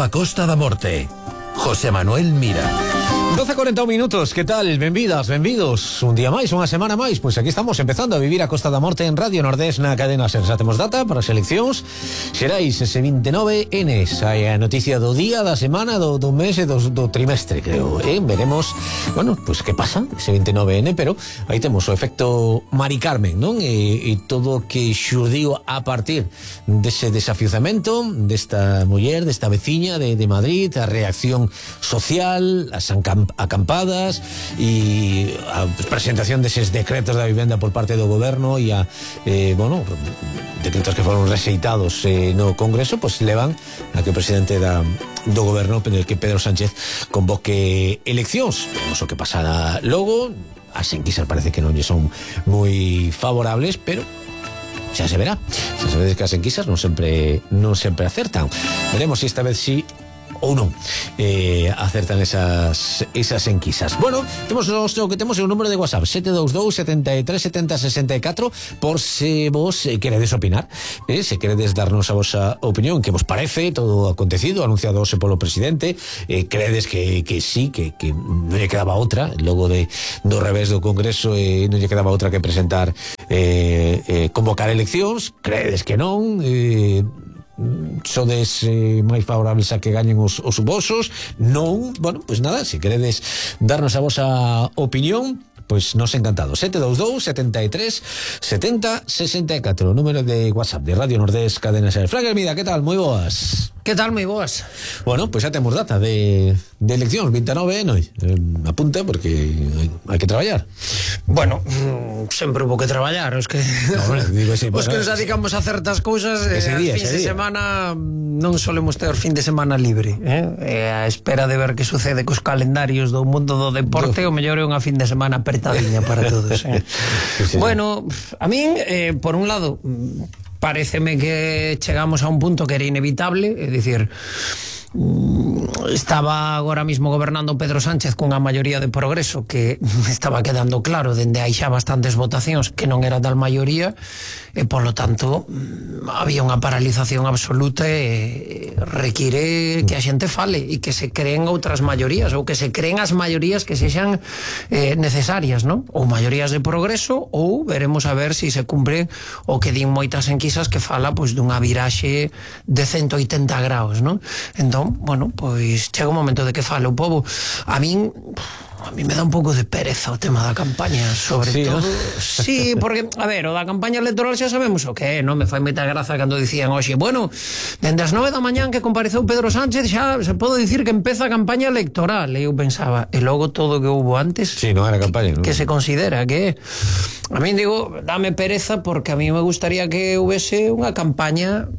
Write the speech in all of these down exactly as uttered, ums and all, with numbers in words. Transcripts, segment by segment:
a Costa da Morte. José Manuel Mira. doce e cuarenta minutos, que tal? Benvidas, benvidos. Un día máis, unha semana máis. Pois aquí estamos empezando a vivir a Costa da Morte en Radio Nordés na cadena Ser. Xa temos data para as eleccións. Xerais ese vinte e nove ene. Hai a noticia do día, da semana, do, do mes e do, do trimestre, creo. Eh? Veremos, bueno, pois pues, que pasa ese vinte e nove ene, pero aí temos o efecto Mari Carmen, non? E, e todo o que xurdiu a partir dese desafiuzamento desta muller, desta veciña de, de Madrid, a reacción social, as acampadas e a presentación deses decretos da vivenda por parte do goberno e a, eh, bueno, decretos que foron rexeitados eh, no Congreso, pois pues, levan a que o presidente da, do goberno, que Pedro Sánchez, convoque eleccións. Veremos o que pasará logo. As enquisas parece que non lle son moi favorables, pero xa se verá. Xa se ve que as enquisas non sempre non sempre acertan. Veremos se esta vez si ou non eh, acertan esas esas enquisas. Bueno, temos o que temos é o número de WhatsApp sete dous dous, sete tres, sete cero, seis catro, por se vos eh, queredes opinar, eh, se queredes darnos a vosa opinión, que vos parece todo o acontecido, anunciado hoxe polo presidente, eh, credes que, que sí, que, que non lle quedaba outra, logo de, do revés do Congreso, eh, non lle quedaba outra que presentar eh, eh, convocar eleccións, credes que non, eh, sodes eh, máis favorables a que gañen os, os vosos, non, bueno, pois pues nada, se queredes darnos a vosa opinión, pois pues nos encantado. Sete dous dous, sete tres, sete cero, seis catro, número de WhatsApp de Radio Nordés, cadena Ser. Frank Hermida, que tal? Moi boas. Que tal, moi boas? Bueno, pois pues xa temos data de, de eleccións, vinte e nove, non? Eh, apunta, porque hai que traballar. Bueno, sempre hubo que traballar, os que no, bueno, digo así, os que nos dedicamos a certas cousas, ese día, eh, fin ese de día. semana non solemos ter fin de semana libre, eh? eh a espera de ver que sucede cos calendarios do mundo do deporte, o mellor é unha fin de semana apertadiña para todos, eh? Sí, sí, bueno, a min, eh, por un lado, paréceme que chegamos a un punto que era inevitable, é dicir, estaba agora mismo gobernando Pedro Sánchez cunha maioría de progreso que estaba quedando claro dende hai xa bastantes votacións que non era tal maioría, e polo tanto había unha paralización absoluta e require que a xente fale e que se creen outras maiorías, ou que se creen as maiorías que sexan eh, necesarias, non? Ou maiorías de progreso, ou veremos a ver se si se cumpre o que din moitas enquisas que fala pois dunha viraxe de ciento oitenta graus, non? Entón, bueno, pois chega un momento de que fale o povo. A min a mí me dá un pouco de pereza o tema da campaña, sobre sí, todo, ¿no? Sí, porque, a ver, o da campaña electoral xa sabemos o que é, non me fai moita graza cando dicían hoxe, bueno, dende as nove da mañán que compareceu Pedro Sánchez xa se pode dicir que empeza a campaña electoral, e eu pensaba, e logo todo o que houbo antes, sí, non era campaña, que, non? que se considera que a mí digo, dame pereza, porque a mí me gustaría que houvese unha campaña,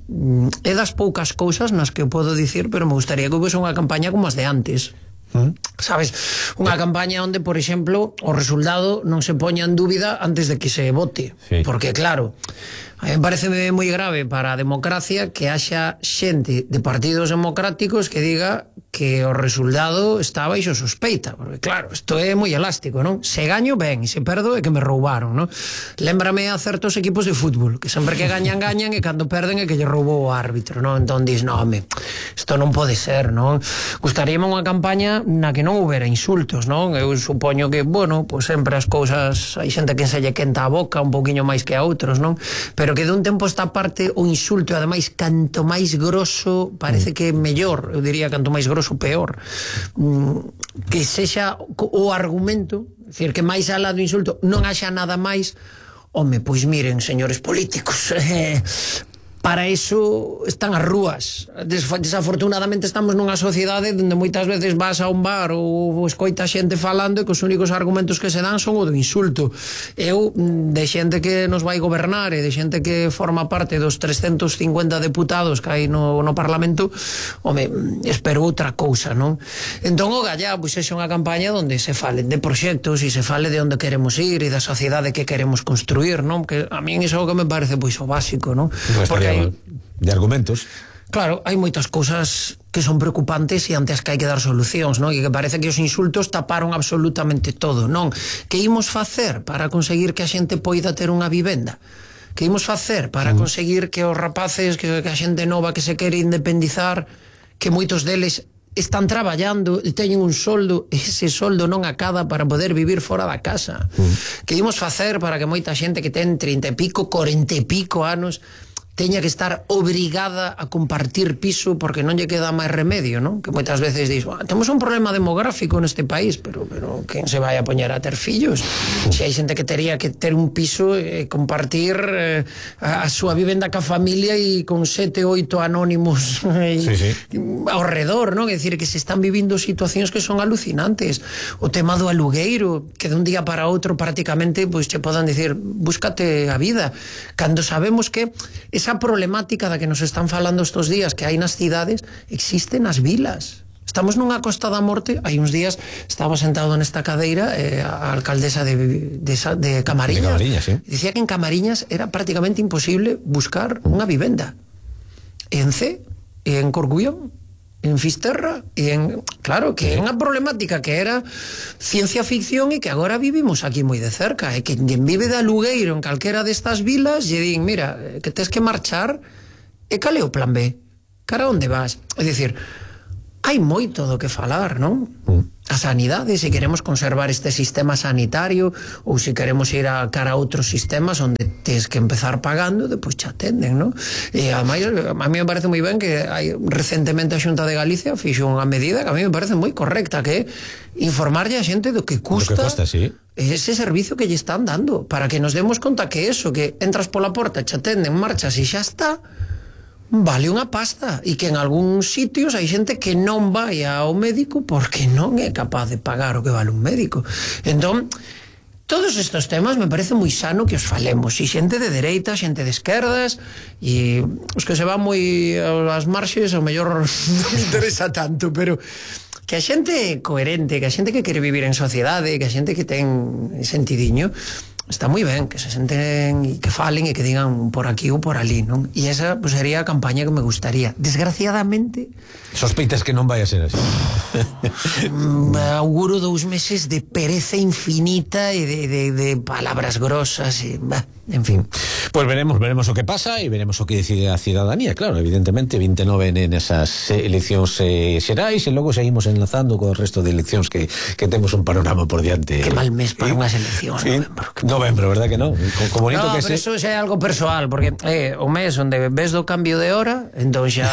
é das poucas cousas nas que eu podo dicir, pero me gustaría que houvese unha campaña como as de antes. ¿Mm? Sabes, unha campaña onde, por exemplo, o resultado non se poña en dúbida antes de que se vote, sí. Porque claro, a mí me parece moi grave para a democracia que haxa xente de partidos democráticos que diga que o resultado está baixo sospeita, porque claro, isto é moi elástico, non? Se gaño, ben, e se perdo é que me roubaron, non? Lémbrame a certos equipos de fútbol que sempre que gañan, gañan, e cando perden é que lle roubou o árbitro, non? Entón dis, non, home, isto non pode ser, non? Gustaríame unha campaña na que non houbera insultos, non? Eu supoño que, bueno, pois sempre as cousas, hai xente que se lle quenta a boca un pouquiño máis que a outros, non? Pero que de un tempo esta parte o insulto, ademais, canto máis grosso parece que é mellor, eu diría canto máis grosso peor, que sexa o argumento, é dicir, que máis alá do insulto non haxa nada máis. Home, pois miren, señores políticos, eh, para iso están as rúas. Desafortunadamente estamos nunha sociedade onde moitas veces vas a un bar ou escoita xente falando e que os únicos argumentos que se dan son o do insulto. Eu, de xente que nos vai gobernar e de xente que forma parte dos trescentos cincuenta deputados que hai no, no Parlamento, home, espero outra cousa, non? Entón, o gallá, pois é unha campaña onde se fale de proxectos e se fale de onde queremos ir e da sociedade que queremos construir, non? Que a min iso é o que me parece pois o básico, non? Porque de argumentos. Claro, hai moitas cousas que son preocupantes e ante as que hai que dar solucións, non? E que parece que os insultos taparon absolutamente todo, non? Que imos facer para conseguir que a xente poida ter unha vivenda? Que imos facer para conseguir que os rapaces, que, que a xente nova que se quere independizar, que moitos deles están traballando e teñen un soldo, ese soldo non acada para poder vivir fora da casa. Mm. Que imos facer para que moita xente que ten trinta e pico, cuarenta e pico anos teña que estar obrigada a compartir piso porque non lle queda máis remedio, non? Que moitas veces dis, ah, temos un problema demográfico neste país, pero pero quen se vai a poñer a ter fillos? Se hai xente que tería que ter un piso e eh, compartir eh, a, a súa vivenda ca familia e con sete, oito anónimos eh, sí, sí. ao redor, non? É dicir, que se están vivindo situacións que son alucinantes. O tema do alugueiro, que de un día para outro prácticamente pois che podan dicir, búscate a vida, cando sabemos que esa problemática da que nos están falando estos días que hai nas cidades existe nas vilas. Estamos nunha Costa da Morte, hai uns días estaba sentado nesta cadeira eh, a alcaldesa de, de, de Camariñas, de Camariñas sí. Dicía que en Camariñas era prácticamente imposible buscar unha vivenda. En C, en Corcubión, en Fisterra, e en... Claro, que é unha problemática que era ciencia ficción e que agora vivimos aquí moi de cerca, e que quen vive de alugueiro en calquera destas vilas lle din, mira, que tes que marchar, e cal é o plan B? Cara, onde vas? É dicir, hai moito do que falar, non? A sanidade, se queremos conservar este sistema sanitario ou se queremos ir a cara a outros sistemas onde tes que empezar pagando, depois te atenden, non? E ademais, a mí me parece moi ben que hai recentemente a Xunta de Galicia fixo unha medida que a mí me parece moi correcta, que é informarlle a xente do que custa, do que costa, sí, ese servicio que lle están dando, para que nos demos conta que eso, que entras pola porta, te atenden, marchas e xa está, vale unha pasta, e que en algúns sitios hai xente que non vai ao médico porque non é capaz de pagar o que vale un médico. Entón, todos estes temas me parece moi sano que os falemos, e xente de dereita, xente de esquerdas, e os que se van moi ás marxes ao mellor non me interesa tanto, pero que a xente coherente, que a xente que quere vivir en sociedade, que a xente que ten sentidiño, está moi ben que se senten e que falen e que digan por aquí ou por ali, non? E esa pues, sería a campaña que me gustaría. Desgraciadamente... Sospeitas que non vai a ser así. Auguro dous meses de pereza infinita e de, de, de palabras grosas e... Bah, en fin. Pues veremos, veremos o que pasa e veremos o que decide a cidadanía, claro, evidentemente, vinte e nove nesas eleccións eh, xerais e logo seguimos enlazando co resto de eleccións que, que temos un panorama por diante. Que mal mes para unhas eleccións, sí, novembro. Novembro, verdad que non? Co bonito no, que pero se... eso xa é algo persoal, porque é eh, o mes onde ves do cambio de hora, entón xa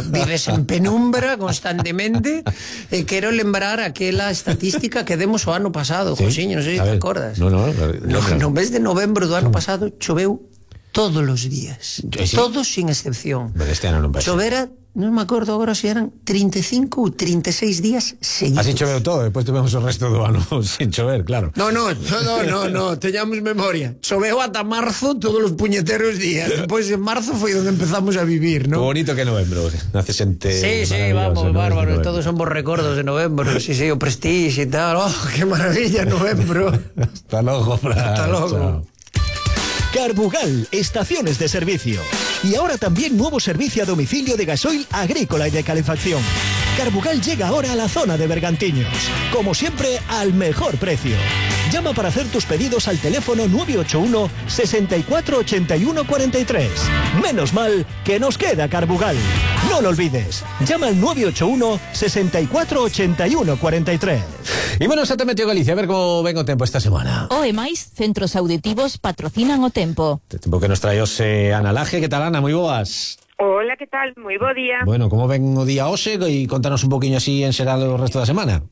vives en penumbra constantemente, e quero lembrar aquela estatística que demos o ano pasado, sí, Josiño, non sei se te acordas. No, no, no, no mes de novembro do ano pasado choveu todos os días, sí, todos sin excepción. Pero este ano non vai. Chovera, non me acordo agora se eran trinta e cinco ou trinta e seis días seguidos. Así choveu todo, despois tivemos o resto do ano sin chover, claro. No, no, no, no, no, teñamos memoria. Choveu ata marzo todos os puñeteros días. Despois en marzo foi onde empezamos a vivir, ¿no? Que bonito que novembro, nace xente. Sí, sí, vamos, bárbaro, todos son bons recordos de novembro. Sí, sí, o Prestige e tal. Oh, que maravilla novembro. Hasta logo, Fran. Hasta logo. Chao. Carbugal, estaciones de servicio. Y ahora también nuevo servicio a domicilio de gasoil agrícola y de calefacción. Carbugal llega ahora a la zona de Bergantiños. Como siempre, al mejor precio. Llama para hacer tus pedidos al teléfono nueve ocho uno, sesenta y cuatro, ochenta y uno, cuarenta y tres. Menos mal que nos queda Carbugal. No lo olvides. Llama al nueve ocho uno, sesenta y cuatro, ochenta y uno, cuarenta y tres. Y bueno, xa te meteo Galicia, a ver como ven o tempo esta semana. O e máis, centros auditivos patrocinan o tempo. O tempo que nos trae hoxe Ana Laje. Que tal, Ana? Moi boas. Hola, que tal? Moi bo día. Bueno, como ven o día hoxe e contanos un poquinho así en xeral o resto da semana.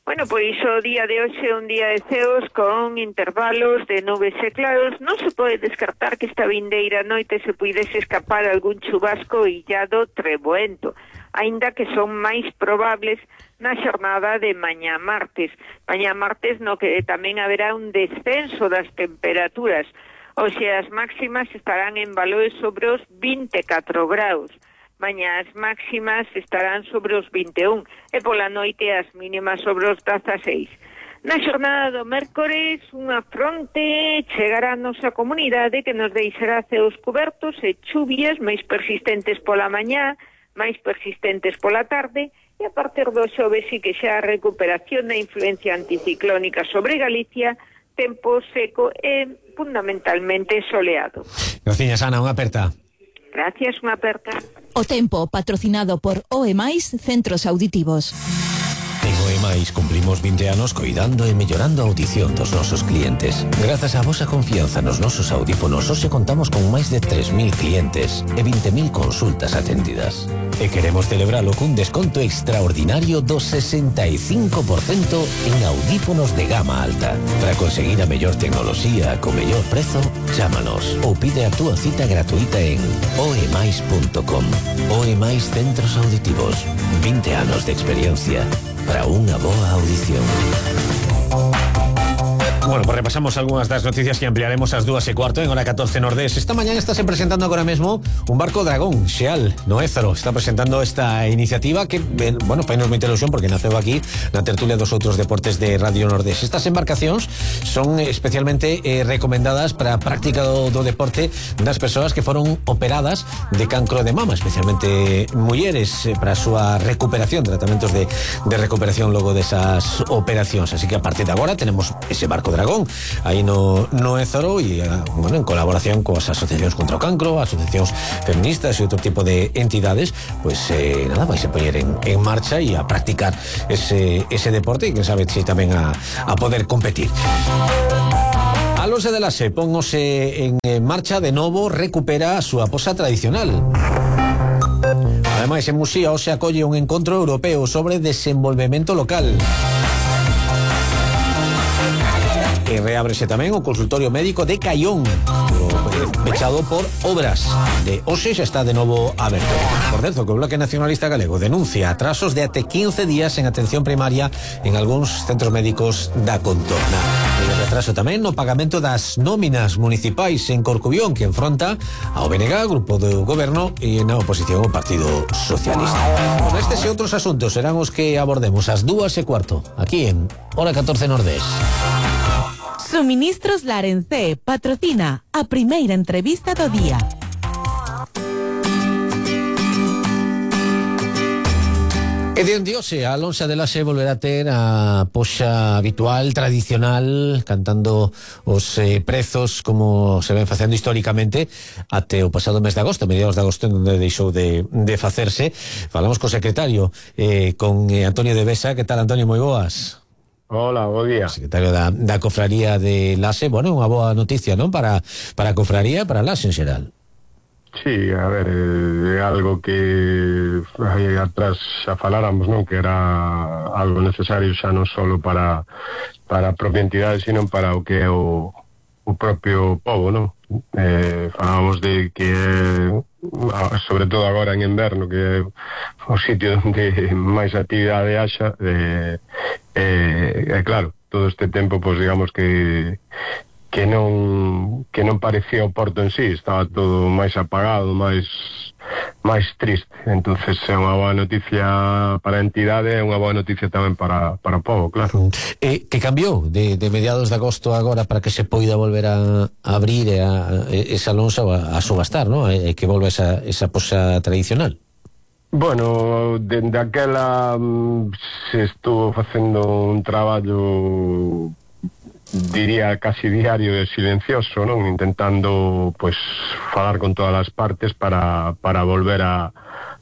Bueno, pois o día de hoxe é un día de ceos con intervalos de nubes e claros. Non se pode descartar que esta vindeira noite se puidese escapar algún chubasco illado treboento, aínda que son máis probables na xornada de mañá martes. Mañá martes no que tamén haberá un descenso das temperaturas, ou sea, as máximas estarán en valores sobre os vinte e catro graus. Mañá as máximas estarán sobre os vinte e un e pola noite as mínimas sobre os dezaseis. Na xornada do mércores, unha fronte chegará a nosa comunidade que nos deixará ceos cubertos e chuvias máis persistentes pola mañá, máis persistentes pola tarde, e a partir do xoves sí que xa a recuperación da influencia anticiclónica sobre Galicia, tempo seco e fundamentalmente soleado. Gracias, Ana, unha aperta. Gracias, unha aperta. O Tempo, patrocinado por O E Mais Centros Auditivos. En O E Mais cumplimos vinte anos coidando e mellorando a audición dos nosos clientes. Grazas á vosa confianza nos nosos audífonos, hoxe contamos con máis de tres mil clientes e vinte mil consultas atendidas. E queremos celebralo cun desconto extraordinario do sesenta e cinco por cento en audífonos de gama alta. Para conseguir a mellor tecnoloxía co mellor prezo, chámanos ou pide a túa cita gratuita en oemais punto com. O E Mais Centros Auditivos. vinte anos de experiencia para unha boa audición. Bueno, pues repasamos algunhas das noticias que ampliaremos ás dúas e cuarto en hora catorce Nordés. Esta mañana está se presentando agora mesmo un barco dragón, Xeal, no Ézaro. Está presentando esta iniciativa que, bueno, fainos moita ilusión porque naceu aquí na tertulia dos outros deportes de Radio Nordés. Estas embarcacións son especialmente eh, recomendadas para a práctica do, do deporte das persoas que foron operadas de cancro de mama, especialmente mulleres, eh, para a súa recuperación, tratamentos de, de recuperación logo desas operacións. Así que a partir de agora tenemos ese barco dragón aí no, no Ézaro e, bueno, en colaboración coas asociacións contra o cancro, asociacións feministas e outro tipo de entidades, pues eh, nada, vais a poñer en, en marcha e a practicar ese, ese deporte e que sabe si tamén a, a poder competir. Alonso de Laxe póngose en marcha de novo, recupera a súa posa tradicional. Ademais, en Muxía hoxe acolle un encontro europeo sobre desenvolvemento local. E reábrese tamén o consultorio médico de Caión, pechado por obras. De hoxe xa está de novo aberto. Por certo, que o Bloque Nacionalista Galego denuncia atrasos de até quince días en atención primaria en algúns centros médicos da contorna. E retraso tamén no pagamento das nóminas municipais en Corcubión, que enfronta ao B N G, grupo do goberno, e na oposición ao Partido Socialista. Con estes e outros asuntos serán os que abordemos ás dúas e cuarto, aquí en Hora catorce Nordés. Suministros Larencé patrocina a primeira entrevista do día. E de onde hoxe a Alonso de Laxe volverá a ter a poxa habitual, tradicional, cantando os eh, prezos como se ven facendo históricamente até o pasado mes de agosto, mediados de agosto, en onde deixou de, de facerse. Falamos co secretario, eh, con eh, Antonio de Besa. Que tal, Antonio? Moi boas. Hola, bo día. Secretario da, da Cofraría de Laxe. Bueno, unha boa noticia, non? Para, para a Cofraría e para Laxe en xeral. Sí, a ver, é algo que aí atrás xa faláramos, non? Que era algo necesario xa non solo para, para a propia entidade, sino para o que é o, o propio povo, non? Eh, falábamos de que sobre todo agora en inverno, que é o sitio onde máis actividade haxa, eh, eh, eh, claro, todo este tempo, pois digamos que que non que non parecía o porto en sí, estaba todo máis apagado, máis máis triste. Entonces é unha boa noticia para a entidade e unha boa noticia tamén para, para o povo, claro. E que cambiou de, de mediados de agosto agora para que se poida volver a, a abrir e a, esa lonxa a, a subastar, non? E que volva esa, esa posa tradicional? Bueno, dende aquela se estuvo facendo un traballo, diría casi diario e silencioso, non? Intentando, pois, falar con todas as partes para, para volver a,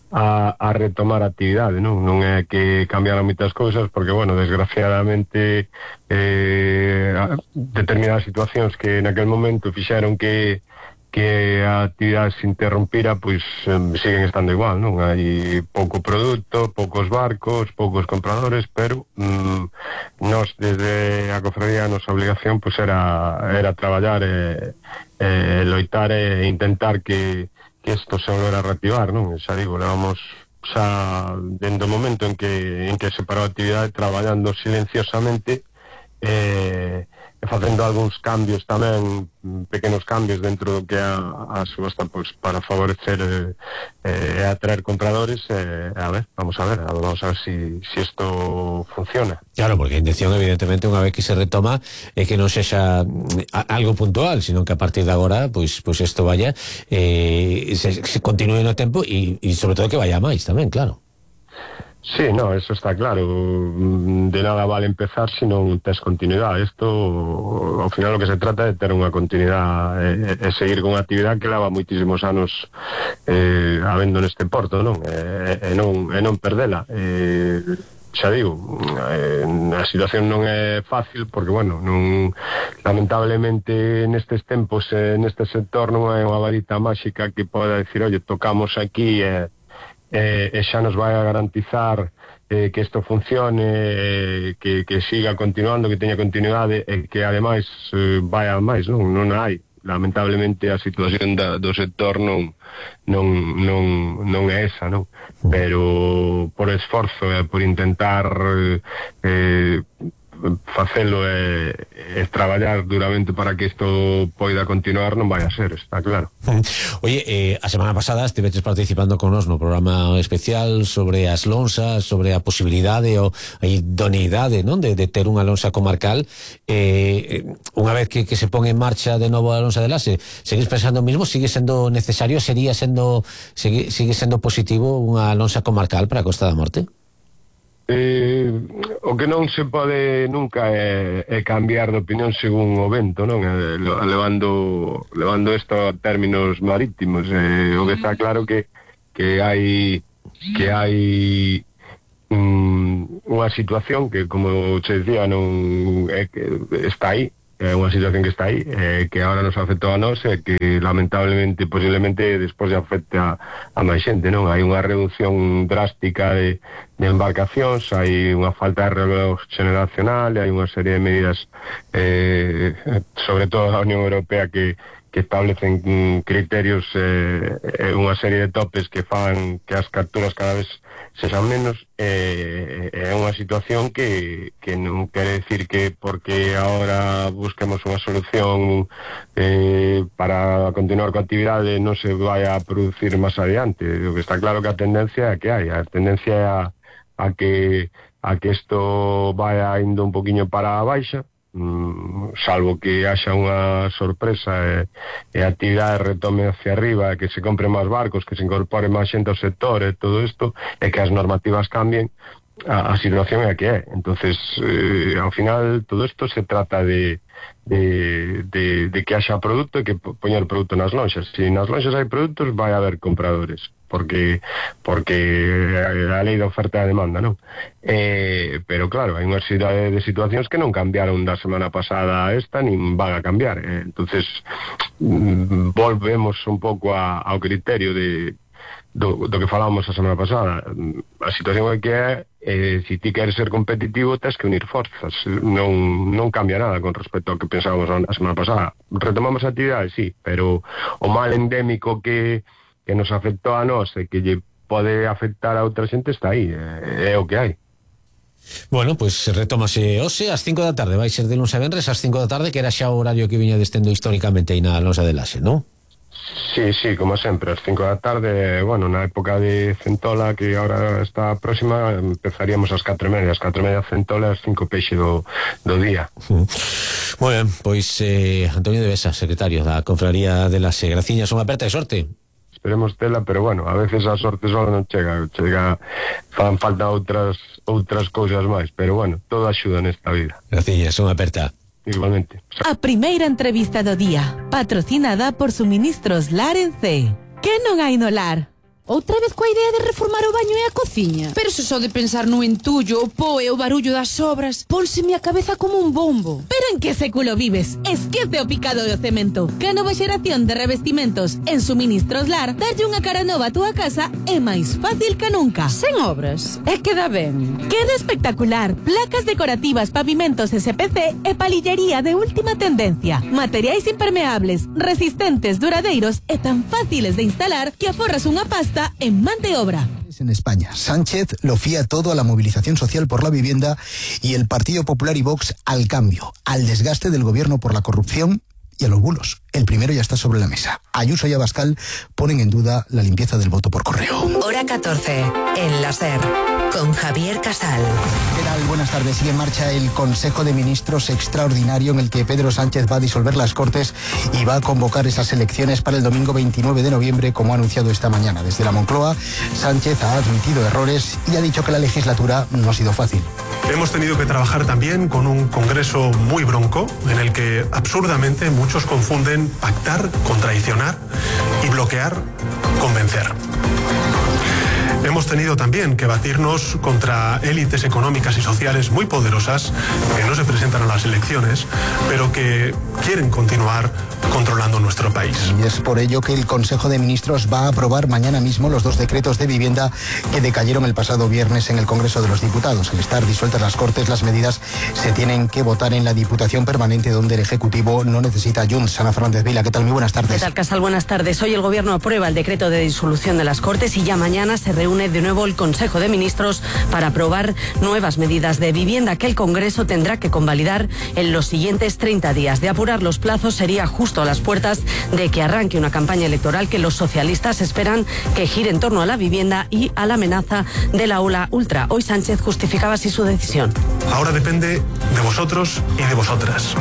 a, a retomar a actividade, non? Non é que cambiaran moitas cousas, porque, bueno, desgraciadamente eh, determinadas situacións que naquel momento fixeron que que a actividade se interrompira, pois eh, siguen estando igual, non? Hai pouco produto, poucos barcos, poucos compradores, pero mm, nós desde a Cofradía a nosa obligación pois era, era traballar e, e loitar e intentar que, que isto se volvera a reactivar, non? Xa digo, levamos xa dende o momento en que, en que se parou a actividade traballando silenciosamente e eh, facendo algúns cambios tamén, pequenos cambios dentro do que é a, a subasta, pois, para favorecer e eh, atraer compradores. Eh, a ver, vamos a ver, vamos a ver si, si esto funciona. Claro, porque a intención, evidentemente, unha vez que se retoma, é que non sexa algo puntual, sino que a partir de agora, pois, pois isto vaya, eh, se, se continúe no tempo e, e sobre todo que vaya máis tamén, claro. Sí, no, eso está claro. De nada vale empezar se non tes continuidade. Isto, ao final, o que se trata é ter unha continuidade e, e seguir con unha actividade que leva moitísimos anos eh, habendo neste porto, non? E, e, non, e non perdela. E, xa digo, eh, a situación non é fácil porque, bueno, non, lamentablemente nestes tempos, eh, neste sector non é unha varita máxica que poda decir, oye, tocamos aquí e... Eh, e xa nos vai a garantizar eh, que isto funcione, eh, que, que siga continuando, que teña continuidade e que ademais eh, vai a máis, non, non hai. Lamentablemente a situación da, do sector non, non, non, non é esa, non? Pero por esforzo e eh, por intentar eh, facelo e, e traballar duramente para que isto poida continuar non vai a ser, está claro. Oye, eh, a semana pasada estiveches participando con nos no programa especial sobre as lonsas, sobre a posibilidade ou a idoneidade, non, de, de ter unha lonsa comarcal. Eh, unha vez que, que se pon en marcha de novo a lonsa de Lase, seguís pensando o mismo? Sigue sendo necesario? Sería sendo sigue, sigue sendo positivo unha lonsa comarcal para a Costa da Morte? Eh, o que non se pode nunca é, é cambiar de opinión según o vento, non? Eh, levando levando isto a términos marítimos, eh, o que está claro que que hai que hai um, unha situación que, como se decía, non é que está aí, é unha situación que está aí, eh, que agora nos afectou a nós e que lamentablemente, posiblemente despois de afecte a, a máis xente, non? Hai unha reducción drástica de, de embarcacións, hai unha falta de relevo generacional, hai unha serie de medidas, eh, sobre todo a Unión Europea, que que establecen criterios e eh, unha serie de topes que fan que as capturas cada vez sexan menos. É eh, unha situación que, que non quere decir que porque agora busquemos unha solución eh, para continuar coa actividade non se vai a producir máis adiante. O que está claro que a tendencia é que hai, a tendencia é a, a que a que isto vaya indo un poquinho para a baixa, salvo que haxa unha sorpresa e, e a actividade retome hacia arriba, que se compre máis barcos, que se incorpore máis xente ao sector e todo isto, e que as normativas cambien, a, a situación é a que é. Entonces, eh, ao final, todo isto se trata de, de, de, de que haxa produto e que poñer produto nas lonxas. Se nas lonxas hai produtos, vai haber compradores, porque porque a lei da oferta e a demanda, non? Eh, pero claro, hai unha serie de situacións que non cambiaron da semana pasada a esta, nin van a cambiar. Eh, entonces mm, volvemos un pouco a, ao criterio de do, do que falábamos a semana pasada. A situación é que é, eh, se ti queres ser competitivo, tens que unir forzas. Non, non cambia nada con respecto ao que pensábamos a semana pasada. Retomamos a actividade, sí, pero o mal endémico que que nos afectou a nós e que lle pode afectar a outra xente está aí, é, é o que hai. Bueno, pois pues, retómase hoxe ás cinco da tarde, vai ser de luns a venres ás cinco da tarde, que era xa o horario que viña destendo históricamente aí na lonsa de Lase, non? Sí, sí, como sempre, ás cinco da tarde, bueno, na época de Centola, que agora está próxima, empezaríamos ás catro e media, ás catro e media Centola, ás cinco peixe do, do día. Moi ben, pois eh, Antonio de Besa, secretario da Confraría de Lase, graciñas, unha aperta de sorte. Esperemos tela, pero bueno, a veces a sorte só non chega, chega, fan falta outras outras cousas máis, pero bueno, todo axuda nesta vida. Graciñas, unha aperta. Igualmente. A primeira entrevista do día, patrocinada por Suministros Lar en C. Que non hai no lar? Outra vez coa idea de reformar o baño e a cociña? Pero se só de pensar no entullo, o po e o barullo das obras, pónseme a cabeza como un bombo. Pero en que século vives? Esquece o picado do cemento. Que a nova xeración de revestimentos en Suministros Lar, darlle unha cara nova a túa casa é máis fácil que nunca. Sen obras? É que dá ben. Queda espectacular. Placas decorativas, pavimentos S P C e palillería de última tendencia. Materiais impermeables, resistentes, duradeiros e tan fáciles de instalar que aforras unha pasta en man de obra. En España, Sánchez lo fía todo a la movilización social por la vivienda y el Partido Popular y Vox al cambio, al desgaste del gobierno por la corrupción y a los bulos. El primero ya está sobre la mesa. Ayuso y Abascal ponen en duda la limpieza del voto por correo. Hora catorce, en la SER. con Javier Casal. ¿Qué tal? Buenas tardes. Sigue en marcha el Consejo de Ministros extraordinario en el que Pedro Sánchez va a disolver las Cortes y va a convocar esas elecciones para el domingo veintinueve de noviembre, como ha anunciado esta mañana. Desde la Moncloa, Sánchez ha admitido errores y ha dicho que la legislatura no ha sido fácil. Hemos tenido que trabajar también con un Congreso muy bronco, en el que absurdamente muchos confunden pactar con traicionar y bloquear con vencer. Hemos tenido también que batirnos contra élites económicas y sociales muy poderosas que no se presentan a las elecciones, pero que quieren continuar controlando nuestro país. Y es por ello que el Consejo de Ministros va a aprobar mañana mismo los dos decretos de vivienda que decayeron el pasado viernes en el Congreso de los Diputados. Al estar disueltas las Cortes, las medidas se tienen que votar en la Diputación Permanente, donde el Ejecutivo no necesita Junts. Ana Fernández Vila, ¿qué tal? Muy buenas tardes. ¿Qué tal, Casal? Buenas tardes. Hoy el Gobierno aprueba el decreto de disolución de las Cortes y ya mañana se reúne de nuevo el Consejo de Ministros para aprobar nuevas medidas de vivienda que el Congreso tendrá que convalidar en los siguientes treinta días. De apurar los plazos, sería justo a las puertas de que arranque una campaña electoral que los socialistas esperan que gire en torno a la vivienda y a la amenaza de la ola ultra. Hoy Sánchez justificaba así su decisión. Ahora depende de vosotros y de vosotras.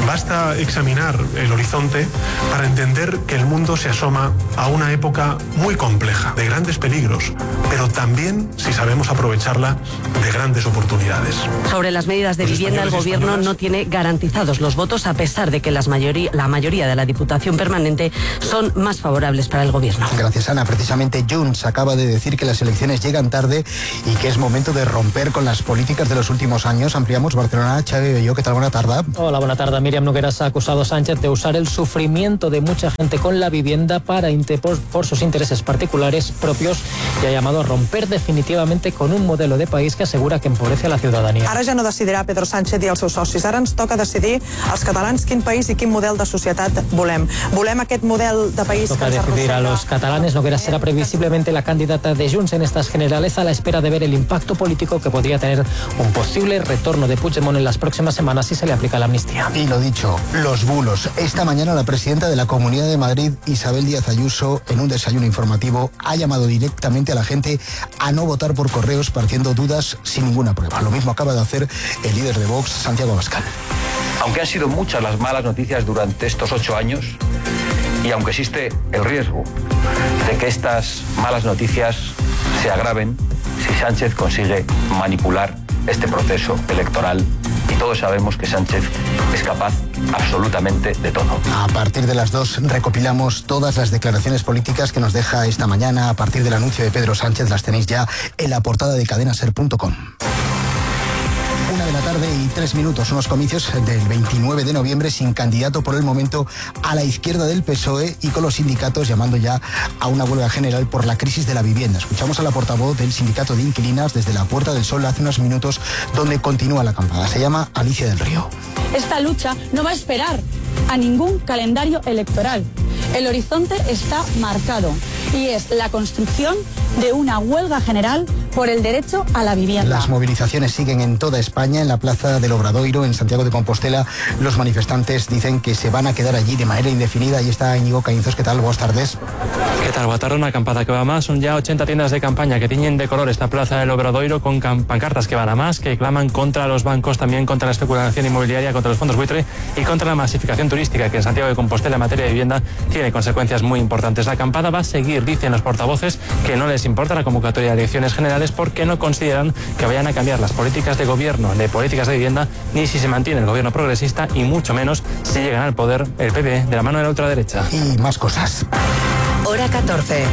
Basta examinar el horizonte para entender que el mundo se asoma a una época muy compleja, de grandes peligros, pero también, si sabemos aprovecharla, de grandes oportunidades. Sobre las medidas de Los vivienda, el Gobierno españoles... no tiene garantizados los votos, a pesar de que las mayoría, la mayoría de la Diputación Permanente son más favorables para el Gobierno. Gracias, Ana. Precisamente Junts acaba de decir que las elecciones llegan tarde y que es momento de romper con las políticas de los últimos años. Ampliamos Barcelona. Xavi Belló, ¿qué tal? Buena tarde. Hola, buena tarde. Miriam Nogueras ha acusado a Sánchez de usar el sufrimiento de mucha gente con la vivienda para por, por sus intereses particulares propios y ha llamado a romper definitivamente con un modelo de país que asegura que empobrece a la ciudadanía. Ara ja no decidirà Pedro Sánchez i els seus socis. Ara ens toca decidir als catalans quin país i quin model de societat volem. Volem aquest model de país Toca que ens decidir a los catalanes. Nogueras será previsiblemente la candidata de Junts en estas generales, a la espera de ver el impacto político que podría tener un posible retorno de Puigdemont en las próximas semanas si se le aplica la amnistía. Y lo dicho, los bulos. Esta mañana la presidenta de la Comunidad de Madrid, Isabel Díaz Ayuso, en un desayuno informativo, ha llamado directamente a la gente a no votar por correos partiendo dudas sin ninguna prueba. Lo mismo acaba de hacer el líder de Vox, Santiago Abascal. Aunque han sido muchas las malas noticias durante estos ocho años y aunque existe el riesgo de que estas malas noticias se agraven si Sánchez consigue manipular este proceso electoral, y todos sabemos que Sánchez es capaz absolutamente de todo. A partir de las dos recopilamos todas las declaraciones políticas que nos deja esta mañana. A partir del anuncio de Pedro Sánchez las tenéis ya en la portada de cadena ser punto com. Una de la tarde y tres minutos, unos comicios del veintinueve de noviembre sin candidato por el momento a la izquierda del P S O E y con los sindicatos llamando ya a una huelga general por la crisis de la vivienda. Escuchamos a la portavoz del sindicato de inquilinas desde la Puerta del Sol hace unos minutos, donde continúa la acampada. Se llama Alicia del Río. Esta lucha no va a esperar a ningún calendario electoral. El horizonte está marcado y es la construcción de una huelga general por el derecho a la vivienda. Las movilizaciones siguen en toda España. En la Plaza del Obradoiro, en Santiago de Compostela, los manifestantes dicen que se van a quedar allí de manera indefinida. Ahí está Íñigo Caínzos. ¿Qué tal? Buenas tardes. ¿Qué tal? Boa tarde. Una acampada que va más. Son ya ochenta tiendas de campaña que tiñen de color esta Plaza del Obradoiro con pancartas que van a más, que claman contra los bancos, también contra la especulación inmobiliaria, contra los fondos buitre y contra la masificación turística, que en Santiago de Compostela en materia de vivienda tiene consecuencias muy importantes. La acampada va a seguir, dicen los portavoces, que no les importa la convocatoria de elecciones generales porque no consideran que vayan a cambiar las políticas de gobierno, de políticas de vivienda, ni si se mantiene el gobierno progresista y mucho menos si llegan al poder el P P de la mano de la ultraderecha. Y más cosas. Hora catorce.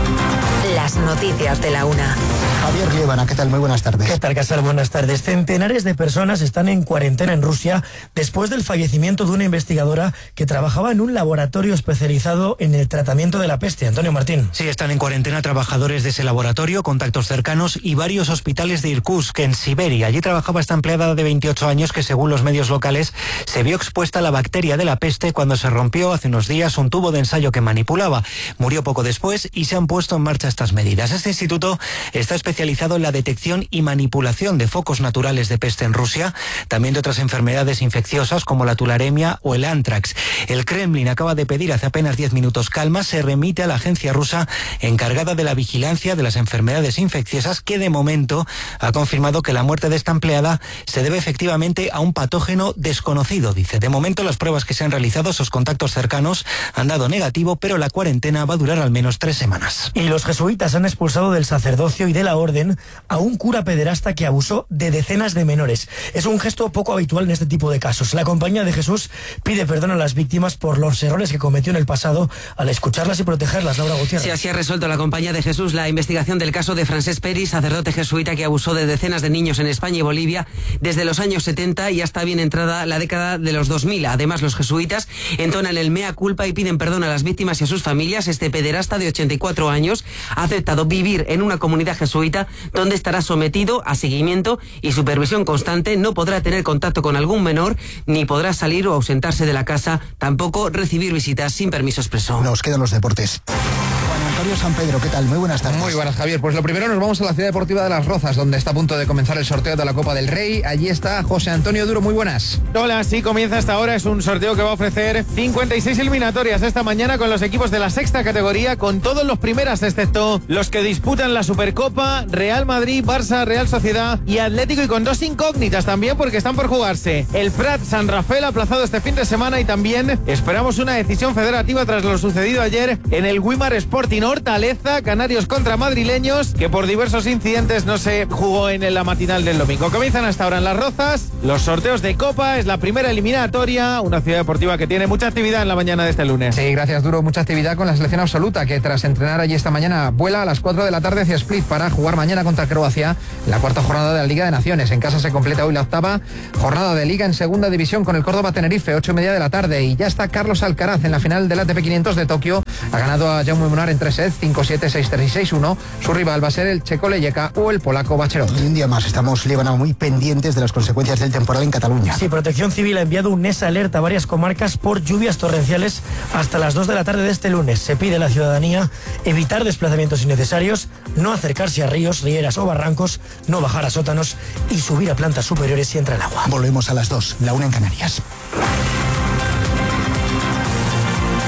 Las noticias de la una. Javier Liébana, ¿qué tal? Muy buenas tardes. ¿Qué tal, Casal? Buenas tardes. Centenares de personas están en cuarentena en Rusia después del fallecimiento de una investigadora que trabajaba en un laboratorio especializado en el tratamiento de la peste. Antonio Martín. Sí, están en cuarentena trabajadores de ese laboratorio, contactos cercanos y varios hospitales de Irkutsk, en Siberia. Allí trabajaba esta empleada de veintiocho años que, según los medios locales, se vio expuesta a la bacteria de la peste cuando se rompió hace unos días un tubo de ensayo que manipulaba. Murió poco después y se han puesto en marcha estas medidas. Este instituto está especializado especializado en la detección y manipulación de focos naturales de peste en Rusia, también de otras enfermedades infecciosas como la tularemia o el antrax. El Kremlin acaba de pedir hace apenas diez minutos calma, se remite a la agencia rusa encargada de la vigilancia de las enfermedades infecciosas, que de momento ha confirmado que la muerte de esta empleada se debe efectivamente a un patógeno desconocido. Dice, de momento las pruebas que se han realizado, sus contactos cercanos han dado negativo, pero la cuarentena va a durar al menos tres semanas. Y los jesuitas han expulsado del sacerdocio y de la orden a un cura pederasta que abusó de decenas de menores. Es un gesto poco habitual en este tipo de casos. La Compañía de Jesús pide perdón a las víctimas por los errores que cometió en el pasado al escucharlas y protegerlas. Laura Gutiérrez. Sí, así ha resuelto la Compañía de Jesús la investigación del caso de Francesc Peris, sacerdote jesuita que abusó de decenas de niños en España y Bolivia desde los años setenta y hasta bien entrada la década de los dos mil. Además, los jesuitas entonan el mea culpa y piden perdón a las víctimas y a sus familias. Este pederasta de ochenta y cuatro años ha aceptado vivir en una comunidad jesuita donde estará sometido a seguimiento y supervisión constante. No podrá tener contacto con algún menor, ni podrá salir o ausentarse de la casa, tampoco recibir visitas sin permiso expreso. Nos quedan los deportes. Juan Antonio San Pedro, ¿qué tal? Muy buenas tardes. Muy buenas, Javier. Pues lo primero nos vamos a la Ciudad Deportiva de Las Rozas, donde está a punto de comenzar el sorteo de la Copa del Rey. Allí está José Antonio Duro, muy buenas. Hola, sí, comienza hasta ahora. Es un sorteo que va a ofrecer cincuenta y seis eliminatorias esta mañana con los equipos de la sexta categoría, con todos los primeras, excepto los que disputan la Supercopa, Real Madrid, Barça, Real Sociedad y Atlético, y con dos incógnitas también porque están por jugarse. El Prat San Rafael aplazado este fin de semana, y también esperamos una decisión federativa tras lo sucedido ayer en el Wimar Sporting Hortaleza, Canarios contra madrileños, que por diversos incidentes no se jugó en la matinal del domingo. Comienzan hasta ahora en Las Rozas los sorteos de Copa. Es la primera eliminatoria, una ciudad deportiva que tiene mucha actividad en la mañana de este lunes. Sí, gracias, Duro. Mucha actividad con la selección absoluta, que tras entrenar allí esta mañana vuela a las cuatro de la tarde hacia Split para jugar mañana contra Croacia en la cuarta jornada de la Liga de Naciones. En casa se completa hoy la octava jornada de Liga en segunda división con el Córdoba Tenerife, ocho y media de la tarde, y ya está Carlos Alcaraz en la final del A T P quinientos de Tokio. Ha ganado a Jaume Munar en tres sets, cinco siete, seis tres y seis uno. Su rival va a ser el checo Leyeka o el polaco Bacherot. Y un día más estamos, Líbano, muy pendientes de las consecuencias del temporal en Cataluña. Sí, Protección Civil ha enviado un NES alerta a varias comarcas por lluvias torrenciales hasta las dos de la tarde de este lunes. Se pide a la ciudadanía evitar desplazamientos innecesarios, no acercarse a ríos, rieras o barrancos, no bajar a sótanos y subir a plantas superiores si entra el agua. Volvemos a las dos, la una en Canarias.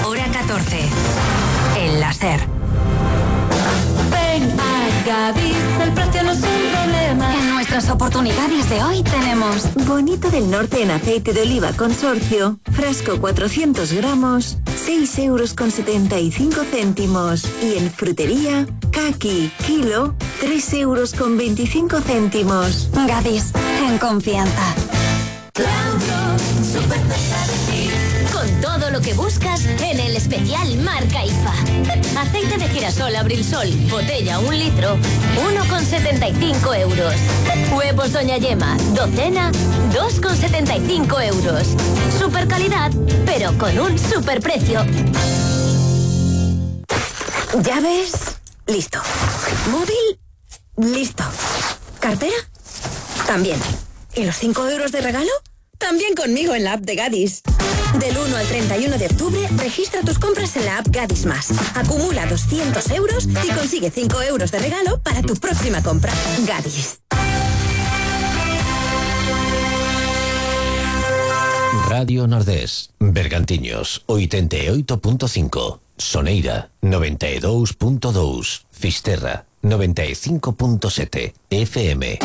Hora catorce. El láser. Ven a Gadis, el precio no es un problema. En nuestras oportunidades de hoy tenemos Bonito del Norte en aceite de oliva consorcio, frasco cuatrocientos gramos, seis euros con setenta y cinco céntimos. Y en frutería, Kaki, kilo, tres euros con veinticinco céntimos. Gadis, en confianza. Claudio, súper cerca de ti. Con todo lo que buscas en el especial marca I F A. Aceite de girasol Abril Sol, botella un litro, uno con setenta y cinco euros. Huevos Doña Yema, docena, dos con setenta y cinco euros. Super calidad, pero con un super precio. ¿Llaves? Listo. ¿Móvil? Listo. ¿Cartera? También. ¿Y los cinco euros de regalo? También conmigo en la app de Gadis. Del uno al treinta y uno de octubre, registra tus compras en la app Gadis Más. Acumula doscientos euros y consigue cinco euros de regalo para tu próxima compra. Gadis. Radio Nordés, Bergantiños, oitenta e oito punto cinco, Soneira, noventa e dous punto dous, Fisterra, noventa e cinco punto sete, F M.